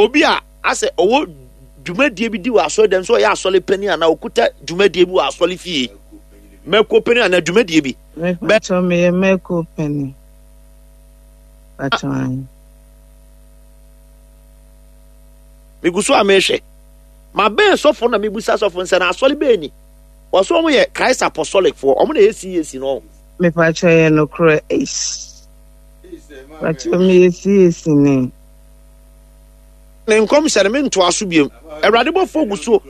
Obi a asɛ ɔwɔ dwumadie bi di wɔ asɔre dɛm sɛ ɔyɛ asɔre panin anaa ɔkuta dwumadie bi wɔ asɔre fie. Mɛko panin anaa dwumadie bi. Mepakyɛw meyɛ mɛko panin. Pakyɛw ayi. Megu so a mehwɛ. Mabɛn sɔfo na mebusa sɔfo nsɛ na asɔre bɛn ni. Wɔsɛ wɔn yɛ Christ Apostolic foɔ. Wɔn na ɛyɛ CAC no. Mepakyɛw yɛ nokorɛ. Eish. Pakyɛw meyɛ CAC ni. Ne nkɔmhyɛ no mentoa so biom. Awurade bɔfoɔ gu so.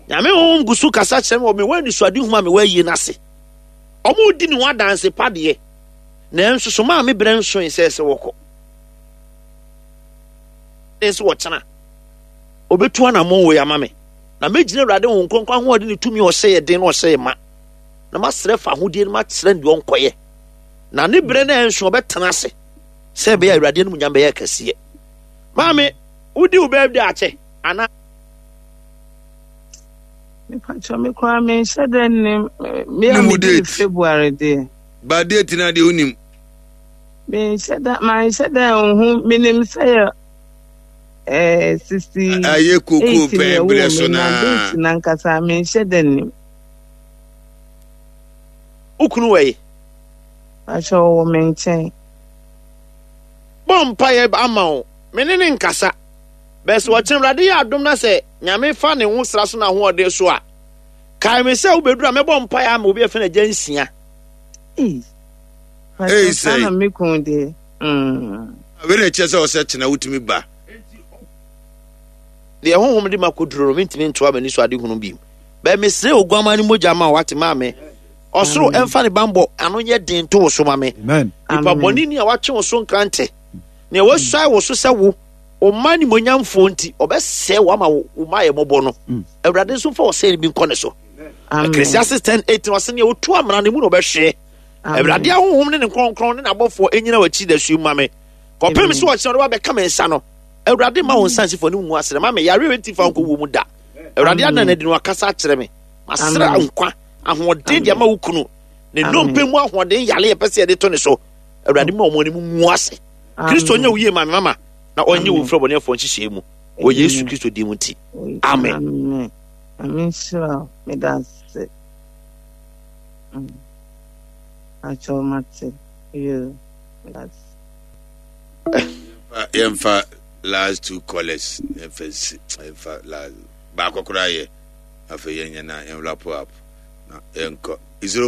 Nyame honhom gu so kasa kyerɛ me wɔ mewɔ anisoadehunu a mewɔ ayie no ase. Wɔredi ne ho adanse pa deɛ, nanso so maa me berɛ nsoe sɛ sɛ wɔkɔ. Ne sɛ wɔkyena. Ɔbɛtu anammɔn wei ama me. Na mɛgyina Awurade Honhom Kronkron ahoɔden ne tumi a ɔhyɛ yɛ den na ɔhyɛ yɛ ma. Na masrɛ fa ahodie no makyerɛ no deɛ ɔnkɔyɛ. Na ne berɛ no ɛnso ɔbɛtena ase sɛ ɛbɛyɛ Awurade animuonyam bɛyɛ kɛseɛ. Maame, wodi wo birthday akyɛ anaa? Mepakyɛ me koraa menhyɛ dɛ nnim me a medi ne February deɛ. Ba date na deɛ wonim. Menhyɛ da manhyɛ da nhu menim sɛ yɛ ɛɛ 68 Ayɛ kokoo pɛn berɛ so na date nankasa menhyɛ da nnim. Wo kunu wɔ yi? Pakyɛ ɔwɔ me nkyɛn. Bɔ mpaeɛ ama wo me ne ne nkasa. Bɛ sɛ ɔkyena Awurade yɛ adom na sɛ Nyame fa ne ho sra so n'ahoɔden so a, kae me sɛ wobɛduru a mɛbɔ mpaeɛ ama obi a yɛfrɛ no Agya Nsia. Ei, Ei pakyɛ saa sɛe. na me kun deɛ. Mm. Wei na ɛkyerɛ sɛ ɔsɛ kyena wotumi ba. Deɛ honhom de ma kɔduro no, mentumi ntoa m'ani so adehunu bio. Bɛ mesrɛ Oguammaa no mogya ma wo, wate maame. Ɔsoro Amen. ɛmfa ne bammɔ ano nyɛ den nto wo so ma me. Amen. Nipa Amen. bɔne ni a watwe wo so nkrantɛ, nea wasuae wo so sɛ wo Wo mma animuonyamfoɔ nti, ɔbɛsɛe wo ama wo mma ayɛ mmɔbɔ no. Mm. Awurade nso mfa ɔsɛe no bi nkɔ ne so. Ecclesiastes 10 18 ɔse nea ɔtu amena no mu na ɔbɛhweɛ. Awurade ahohom ne ne kronkron ne n'abɔfoɔ ɛnyina w'akyi da su ma me. Kɔpem sɛ ɔkyena ɔde wabɛka me nsa no. Awurade ma wo nsa nsi fo ne ngu asrɛ ma me yareɛ bɛnti fa nkɔ wuo mu da. Awurade adan adi no akasa akyerɛ me. Masrɛ nkwa ahoɔden de ama wo kunu. Ne nnompe mu ahoɔden yare yɛpɛ sɛ yɛde to ne so. Awurade ma wɔn anim ngu ase. Kristo nyɛ wo yie ma me mama. na ɔnye wo mfiri ɔbɔneɛfoɔ nhyehyɛɛ mu wɔ Yesu Kristo din mu nti, amen. Amen. Amen nhyira wo. Meda ase. Mm. Akyɛw mate. Yo. Meda ase. Yɛmfa last two callers yɛmfa nsi yɛmfa last baako koraa yɛ afei yɛnyɛ na yɛn wrap up na yɛnkɔ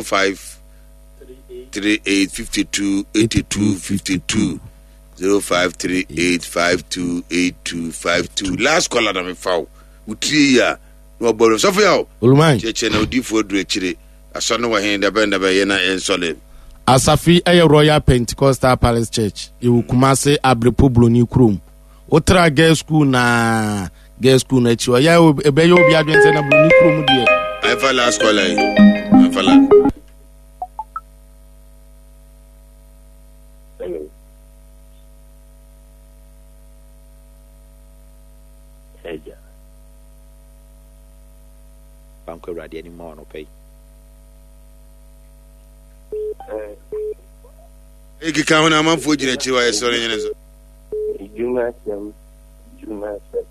05 38 52 82 52 0538528252 last caller na mefa wo wo tiri yi a na wɔbɔ no sɔfo yaw Oluman. kyerɛkyerɛ na odiifoɔ aduru akyire asɔ no wɔ he dabɛn dabɛn yɛ na yɛnsɔle Asafo yi yɛ Royal Pentecostal Palace Church. Yɛwɔ Kumase Abrepo Broni kurom. Wotra girls school na girls school no akyi ɔyɛ ɛbɛyɛ obi adwene sɛ na Broni kurom deɛ. Ɛmfa last caller yi. Ɛmfa last. Agya. Bankɔ Awurade anim ma anɔpa yi. Ekeka ho na amanfoɔ gyina akyiri hɔ a yɛsɔre nyene so. Edwuma asɛm, edwuma asɛm.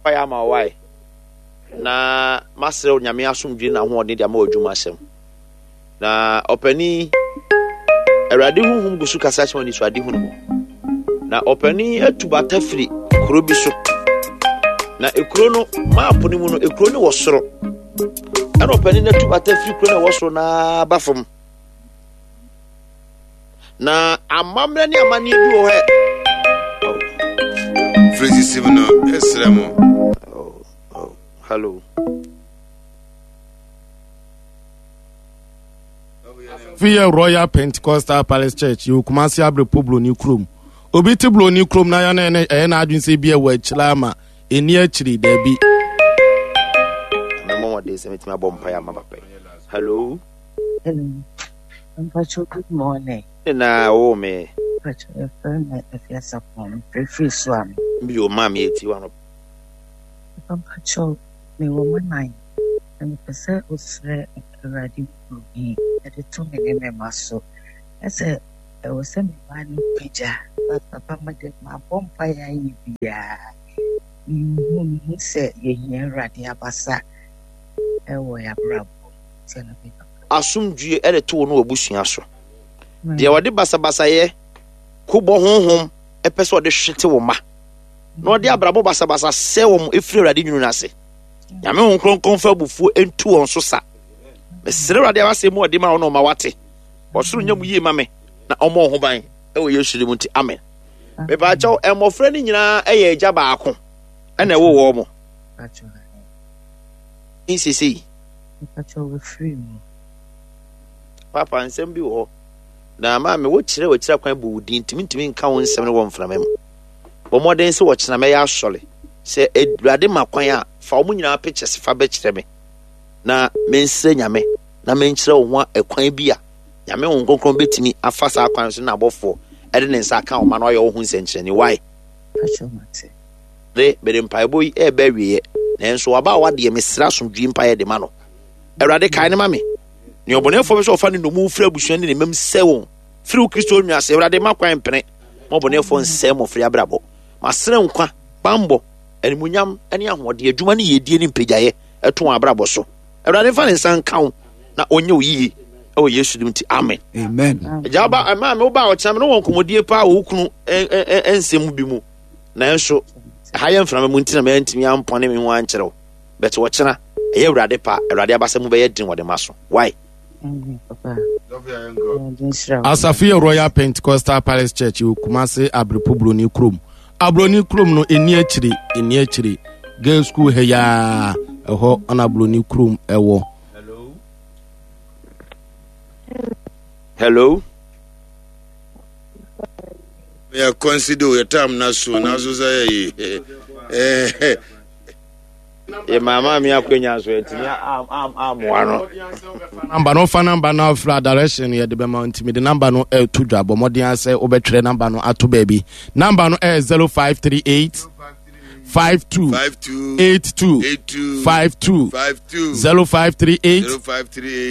Mpaeɛ ama wo wae na masrɛ wo Nyame asomdwe na ahoɔden de ama w'adwuma asɛm. Na ɔpanin, Awurade honhom gu so kasa kyerɛ anisoadehunu mu. Na ɔpanin atu bata firi kuro bi so. Na ekuro no, maapo no mu no, ekuro no wɔ soro. Ɛna ɔpanin no atu bata firi kuro no ɛwɔ soro na aba fam. Na amammerɛ ne amanneɛ bi wɔ hɔ ɛ. Firi sisim no, ɛsrɛ mo. Oh, oh, hello. Fi yɛ Royal Pentecostal Palace Church yɛwɔ Kumasi Abrepo Broni kurom. Obi te Broni kurom na yɛn na ɛyɛ n'adwene sɛ bi ɛwɔ akyire ama ɛni akyiri daabi. Mɛmɔ wɔde sɛ mɛtumi abɔ mpaeɛ ama papa yi. Hello. Hello. Mpacho good morning. Na wo me. Mpacho yɛfrɛ me Afiasapɔn mfrɛfiri so a me. Bi o maa me eti wa no. Mpacho mewɔ mo nan na mepɛ sɛ wosrɛ Awurade biribi de to me ne me mma so. Ɛsɛ ɛwɔ sɛ me mma no pagya but papa mede mabɔ mpaeɛ ayɛ biara. Mehu mehu sɛ yɛhia Awurade abasa wɔ yɛn abrabɔ mu. Nti ɛno me papa. Asomdwie de to wo ne w'abusua so. Deɛ ɔde basabasayɛ, kobɔ honhom pɛ sɛ ɔde hwete wo mma, na ɔde abrabɔ basabasa sɛ wɔn firi Awurade nwunu no ase. Nyame Honhom Kronkron fa abufuo ntu wɔn so sa. Mesrɛ Awurade a wasɛm mu ɔde ma wo na ɔma wate. Ɔsoro nyɛ mu yie ma me na ɔmmɔ wo ho ban ɛwɔ Yesu din mu nti amen. Mepaakyɛw mmɔfra no nyinaa ɛyɛ agya baako ɛna ɛwɔ wɔn mo. Nsesei. Papa nsɛm bi wɔ hɔ na maame wokyerɛ wɔkyerɛ kwan bɔ wo din ntumi ntumi nka wo nsɛm no wɔ mframa mu. Bɔ mmɔden sɛ wɔkyena mɛyɛ asɔre. Sɛ Awurade ma kwan a, fa wɔn nyinaa pictures fa bɛkyerɛ me na mensrɛ Nyame na menkyerɛ wo ho ɛkwan bi a Nyame Honhom Kronkron bɛtumi afa saa kwan so na abɔfoɔ ɛde ne nsa aka wo ma no ayɛ wo ho nsɛnkyerɛnne. Why? De, mede mpaebɔ yi ɛreba awieɛ, nanso w'abaawa deɛ mesrɛ asomdwie mpaeɛ de ma no. Awurade kae no ma me. Nea ɔbɔnefoɔ pɛ sɛ ɔfa ne nnommum firi abusua ne ne mam sɛ wɔn firi wo Kristo nwa ase. Awurade ma kwan mpene ma ɔbɔnefoɔ nsɛe mmɔfra abrabɔ. Masrɛ nkwa, bammɔ, animuonyam ne ahoɔden, adwuma ne yiedie ne mpagyaeɛ ɛto wɔn abrabɔ so. Awurade mfa ne nsa nka wo na ɔnyɛ wo yie ɛwɔ Yesu dim nti amen. Amen. Agya woba ɛmaa me woba a ɔkyena me ne wɔ nkɔmmɔdie paa wɔ wo kunu nsɛm bi mu nanso ɛha yɛ mframa mu nti na mantumi ampɔne me ho ankyerɛ wo but ɔkyena ɛyɛ Awurade pa Awurade abasa mu bɛyɛ den wɔde ma so why? Asafo yɛ Royal Pentecostal Palace Church wɔ Kumase Abrepo Buroni kurom. Aburoni kurom no ɛni akyiri ɛni akyiri girls school ha yaa ɛhɔ ɛna Aburoni kurom ɛwɔ. Hello. Yɛ consider yɛ time na so na so sɛ yɛ yi. Yɛ maama mi akwanya so ɛtumi amoa no. Namba no fa namba no afra direction yɛde bɛma nti mede namba no ɛto dwa bɔ mmɔden asɛ wobɛtwerɛ namba no ato baabi namba no ɛyɛ 0538 52 82 52 0538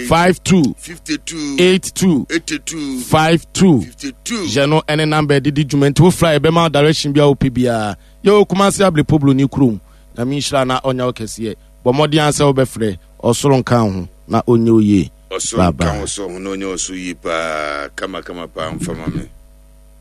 52 82 52 yɛ no ɛne namba ɛde di dwuma nti wofra yɛbɛma direction bi a wopɛ biara yɛwɔ Kumasi Ablepo Broni kurom Nyame nhyira na ɔnyɛ wo kɛseɛ. Bɔ mmɔden ara sɛ wobɛfrɛ. Ɔsoro nka wo ho na ɔnyɛ wo yie. Ɔsoro Bye nka wo bye. so ho na ɔnyɛ wo so yie paa kama kama paa mfa ma me.